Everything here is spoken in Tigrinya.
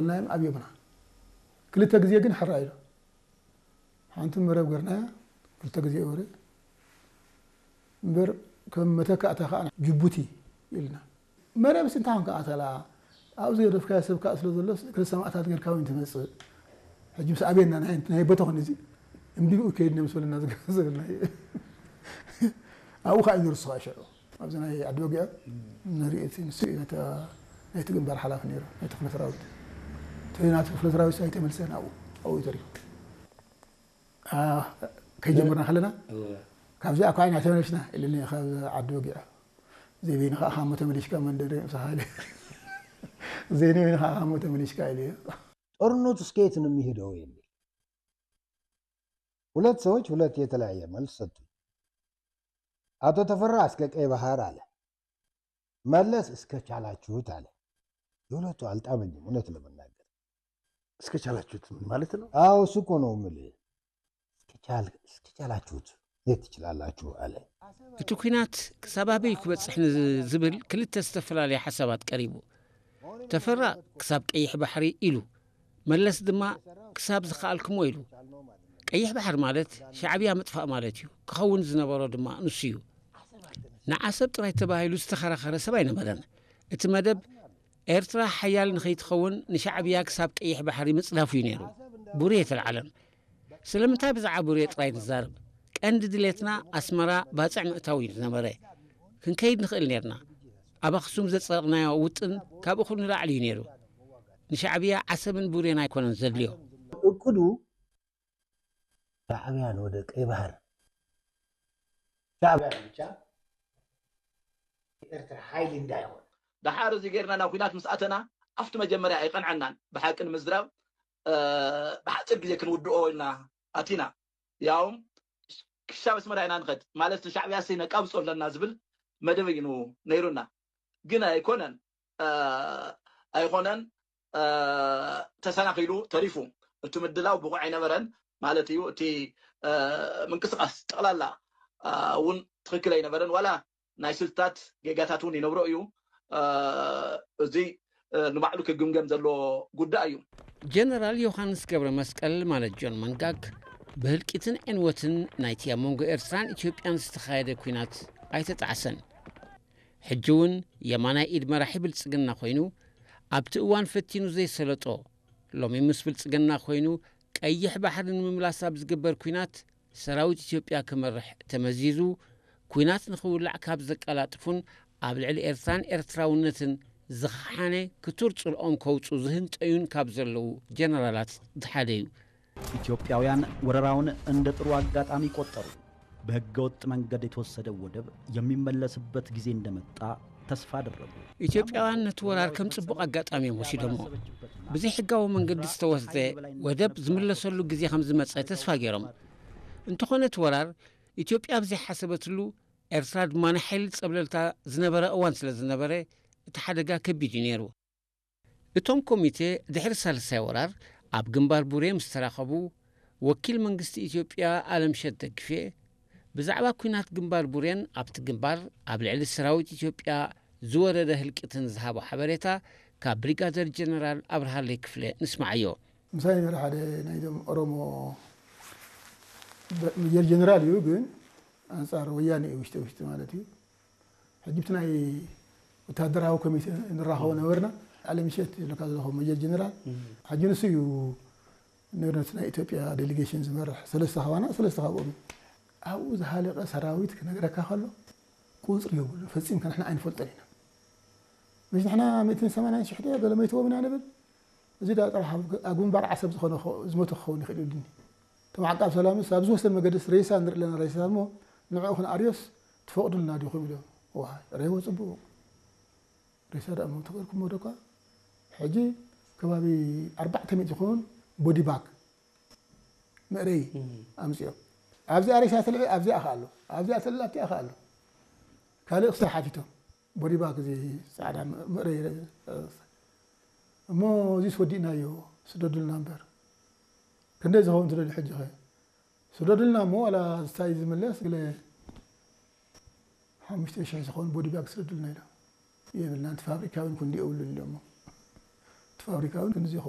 ናዮም ኣብዮምና። ክልተ ግዜ ግን ሕራይ ኢሉ። ሓንቲ መረብ ገርናያ፣ ክልተ ግዜ ወረ። እምበር ከም መተካእታ ከዓ ጅቡቲ ኢልና። መረብስ እንታይ ኮንካ ኣተላ? ኣብኡ ዝገደፍካዮ ሰብ ከዓ ስለ ዘሎስ፣ ገለ ሰማእታት ጌርካ እውን ትመጽእ። ሕጂ ምስ ኣቤና ናይ፣ ናይ ቦታኹን እዚ እምቢኡ ከይድ ነምስበልና ዝገ-፣ ዝብልና እዩ። ኣብኡ ከዓ እዩ ንርስኻ ሽዑ። ኣብዚ ናይ ዓዲ ወግዒ ንርኢ እቲ ንሱ እዩ ነታ ናይቲ ግንባር ሓላፊ ነይሩ፣ ናይ ክፍለ ሰራዊት። እቲ ናቲ ክፍለ ሰራዊት ኣይተመልሰን ኣብኡ፣ ኣብኡ እዩ ተሪፉ። አ፣ ከይጀመርና ከለና፣ እወ። ካብዚኣ እኳ ኢና ተመለስና ኢሉኒ ካብ ዓዲ ወግዒ። ዘይበይንኻ እኻ እሞ ተመሊስካ መንደር ምሳኻ ኢሉ። ዘይበይንኻ እኻ እሞ ተመሊስካ ኢሉ። ጦርነቱ እስከ የት ነው የሚሄደው የሚል ሁለት ሰዎች ሁለት የተለያየ መልስ ሰጡ። አቶ ተፈራ እስከ ቀይ ባህር አለ፣ መለስ እስከ ቻላችሁት አለ። የሁለቱ አልጣመኝም እውነት ለመናገር። እስከ ቻላችሁት ምን ማለት ነው? አዎ እሱ እኮ ነው የምልህ። እስከ ቻል-፣ እስከ ቻላችሁት የት ትችላላችሁ አለ። እቲ ኲናት ክሳብ ኣበይ ክበጽሕ ንዝብል ክልተ ዝተፈላለየ ሓሳባት ቀሪቡ። ተፈራ ክሳብ ቀይሕ ባሕሪ ኢሉ፣ መለስ ድማ ክሳብ ዝኸኣልክሞ ኢሉ። ቀይሕ ባሕሪ ማለት ሻዕብያ ምጥፋእ ማለት እዩ፣ ክኸውን ዝነበሮ ድማ ንሱ እዩ። ንዓሰብ ጥራይ ተባሂሉ ዝተኸራኸረ ሰብ ኣይነበረን። እቲ መደብ ኤርትራ ሓያል ንኸይትኸውን ንሻዕብያ ክሳብ ቀይሕ ባሕሪ ምጽዳፉ እዩ ነይሩ። ቡሬ የተልዓለን። ስለምንታይ ብዛዕባ ቡሬ ጥራይ ንዛረብ? ቀንዲ ድሌትና ኣስመራ ባጽዕ ምእታው እዩ ዝነበረ። ክንከይድ ንኽእል ነርና። ኣብ ኣኽሱም ዘጸደቕናዮ ውጥን ካብ እኹል ንላዕሊ እዩ ነይሩ። ንሻዕብያ ዓሰብን ቡሬን ኣይኮነን ዘድልዮ። እቅዱ ሻዕብያን ወደ ቀይ ባህር ሻዕብያ ብቻ ኤርትራ ሓይሊ እንዳይሆን ደሓር እዚ ጌርና ናብ ኲናት ምስ ኣተና ኣብቲ መጀመርያ ኣይቐንዐናን። ብሓቂ ንምዝራብ ብሓፂር ግዜ ክንውድኦ ኢልና ኣቲና። ያውም ክሻብ ኣስመራ ኢና ንኸድ ማለት ንሻዕብያ ሲ ነቃብጾ ኣለና ዝብል መደብ እዩ ነይሩና። ግን ኣይኮነን ኣይኮነን ተሰናኺሉ ተሪፉ። እቲ ምድላው ብቑዕ ኣይነበረን ማለት እዩ። እቲ ምንቅስቃስ ጠቕላላ እውን ትኽክል ኣይነበረን። ዋላ ናይ ስልትታት ጌጋታት እውን ይነብሮ እዩ። እዚ ንባዕሉ ክግምገም ዘለዎ ጉዳይ እዩ። ጀነራል ዮሃንስ ገብረ መስቀል ማለት ጆን መንጋግ ብህልቂትን ዕንወትን ናይቲ ኣብ መንጎ ኤርትራን ኢትዮጵያን ዝተኻየደ ኲናት ኣይተጣዕሰን። ሕጂ እውን የማናይ ኢድ መራሒ ብልጽግና ኮይኑ ኣብቲ እዋን ፈቲኑ ዘይሰለጦ ሎሚ ምስ ብልጽግና ኮይኑ ቀይሕ ባሕሪ ንምምላስ ኣብ ዝግበር ኲናት ሰራዊት ኢትዮጵያ ክመርሕ ተመዚዙ ኲናት ንኽውላዕ ካብ ዘቀላጥፉን ኣብ ልዕሊ ኤርትራን ኤርትራውነትን ዝኸሓነ ክቱር ጽልኦም ከውጹ ዝህንጠዩን ካብ ዘለዉ ጀነራላት ሓደ እዩ። ኢትዮጵያውያን ወረራውን እንደ ጥሩ አጋጣሚ ቆጠሩ። በህገወጥ መንገድ የተወሰደው ወደብ የሚመለስበት ጊዜ እንደመጣ ተስፋ አደረጉ። ኢትዮጵያውያን ነቲ ወራር ከም ጽቡቕ ኣጋጣሚ እዮም ወሲዶሞ። ብዘይሕጋዊ መንገዲ ዝተወስደ ወደብ ዝምለሰሉ ግዜ ከም ዝመጸ ተስፋ ገይሮም። እንተኾነ እቲ ወራር ኢትዮጵያ ኣብ ዘይሓሰበትሉ ኤርትራ ድማ ናይ ሓይሊ ጸብለልታ ዝነበረ እዋን ስለ ዝነበረ እቲ ሓደጋ ከቢድ እዩ ነይሩ። እቶም ኮሚቴ ድሕሪ ሳልሳይ ወራር ኣብ ግንባር ቡሬ ምስ ተራኸቡ ወኪል መንግስቲ ኢትዮጵያ ኣለምሸት ደግፌ ብዛዕባ ኲናት ግንባር ቡሬን ኣብቲ ግንባር ኣብ ልዕሊ ሰራዊት ኢትዮጵያ ዝወረደ ህልቂትን ዝሃቦ ሓበሬታ ካብ ብሪጋደር ጀነራል ኣብርሃለይ ክፍለ ንስማዓዮ። ምሳይ ነይሩ ሓደ ናይዞም ኦሮሞ ሜጀር ጀነራል እዩ፣ ግን ኣንጻር ወያነ እዩ ውሽጢ ውሽጢ ማለት እዩ። ሕጂ ብቲ ናይ ወታደራዊ ኮሚቴ ንራኸቦ ነበርና። ኣለምሸት ኢልካ ዘለኹ ሜጀር ጀነራል ሕጂ ንሱ እዩ ንብረት ናይ ኢትዮጵያ ዴሊጌሽን ዝመርሕ። ሰለስተ ካባና ሰለስተ ካብኦም እዩ። ኣብኡ ዝሃለቀ ሰራዊት ክነግረካ ከሎ ቁፅሪ የብሉ፣ ፈፂምካ ንሕና ኣይንፈልጦን ኢና። መሽ ንሕና ሚእትን ሰማንያን ሽሕ ድዮ ገለ መይትዎም ኢና ንብል። እዚ ዳ ጥራሕ ኣብ ኣብ ግንባር ዓሰብ ዝኾነ ክኸ- ዝሞተ ክኸውን ይኽእል እዩ ኢሉኒ። እቶም ዓቃብ ሰላምስ ኣብ ዝወሰን መገድስ ሬሳ ንርኢ ኣለና፣ ሬሳ እሞ ንዕኡ ክንኣርዮስ ትፈቕዱልና ዲኹም ኢሎም። ዋይ ሬዎ ፅቡቕ ሬሳ ደኣ እሞ ተቐርኩሞ ዶ እኳ። ሕጂ ከባቢ ኣርባዕተ ሚእቲ ዝኸውን ቦዲ ባግ መእረይ ኣምፅኦም። ኣብዚኣ ሬሳ ትልዒ ኣብዚኣ ከ ኣሎ፣ ኣብዚኣ ትልዒ ኣብቲኣ ከ ኣሎ። ካልእ ክሳብ ሓቲቶም ቦዲ ባግ እዚ ፃዕዳ መእረይ እሞ እዚስ ወዲእናዮ ስደዱልና እምበር። ክንደይ ዝኸውን ትደልዩ ሕጂ ኸ ስደዱልና እሞ ዋላ ዝታይ ዝምለስ ገለ ሓሙሽተ ሽሕ ዝኸውን ቦዲ ባግ ስደዱልና ኢሎም። የብልናን እቲ ፋብሪካ እውን ክንዲ የብሉን ኢሎሞ። እቲ ፋብሪካ እውን ክንዲ ዘይኸውን